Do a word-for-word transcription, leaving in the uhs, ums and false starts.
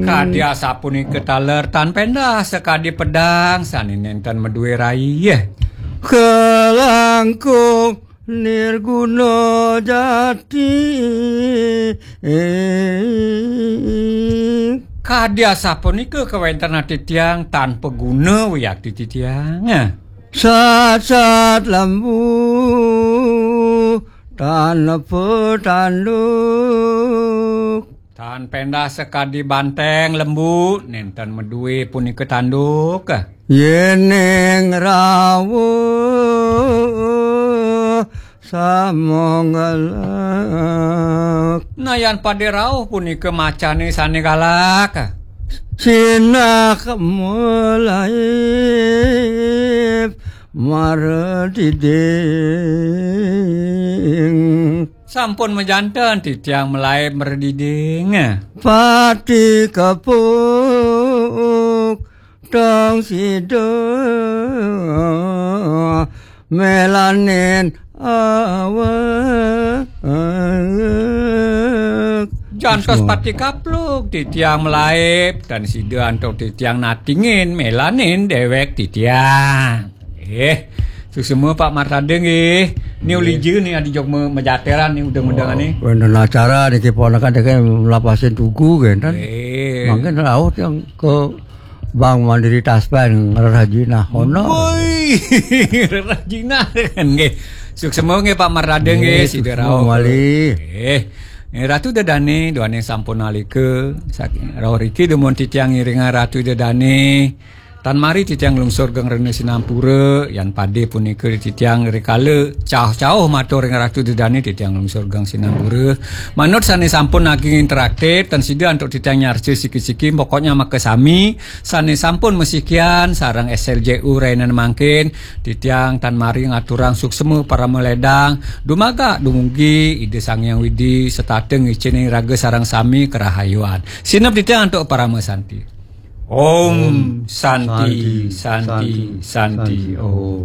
Kadi asapunika taler tan pendah sakadi pedang sane nenten maduwe rai. Kalangkung nirguna jati. Kadi asapunika kawentenan titiang tan paguna wiakti titiang. Sasat lembu tan petanduk. Tan pendah sakadi banteng lembu, nenten maduwe punika tanduk. Yening rawuh samonggalak. Nayan pade rauh punika macane sane galak. Sinah melaib marediding. Sampun majanten titiang melaib marediding. Pati kepuk tong sida melanin awak. Jantos pati kapluk titiang melaib, tan sida antuk titiang natingin melanin dewek titiang. Eh, suksma Pak Martade nggih. Ni ulija ni adi jok me- majateran ni udeng-udengane. Wenten acara niki ponakan deke lapasin tugu kenten. Eh. Mangkin rauh yang ke Bank Mandiri Taspen ngrerah jinah ono. Woi, ngrerah jinah nggih. Suksma nggih Pak Martade nggih, sida rauh. Nggih, suksma malih. Nggih. Nggih, Ratu Dedane, duane sampun nalika saking rauh riki dumun titiang ngiringa Ratu Dedane. Tan mari titiang nglungsur geng rena sinampura, yan pade punika titiang rikala cauh-cauh matur ring Ratu Dedane titiang nglungsur geng sinampura. Manut sane sampun naging interaktif, tan sida antuk titiang nyarca siki-siki, pokoknya makasami sane sampun masikian sareng S L J U rainane mangkin, titiang tan mari ngaturang suksma parama ledang, dumadak dumugi Ida Sang Hyang Widi setata ngiceni raga sareng sami karahayuan. Sineb titiang antuk parama santi. Om Santi, Santi, Santi, Om.